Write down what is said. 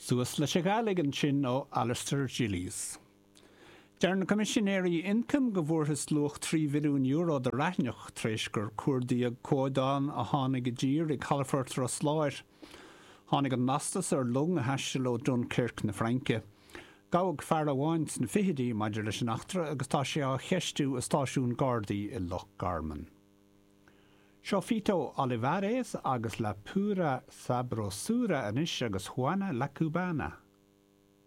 Suas leis an Ghàidhlig ansin ó Alasdair Gillies. Deir na Coimisinéirí Ioncaim go bhfuarthas luach €3 mhilliún de raithneach tar éis gur cuardaíodh comhadán a tháinig i dtír i gcalafort Ros Láir. Tháinig an lastas ar long a thaistil ó Dunkirk na Fraince. Gabhadh fear amháin sna fichidí maidir leis an eachtra agus tá sé á cheistiú i stáisiún Gardaí i Loch Garman. Seo Fito Olivares agus La Pura Sabrosura anois agus Juana La Cubana.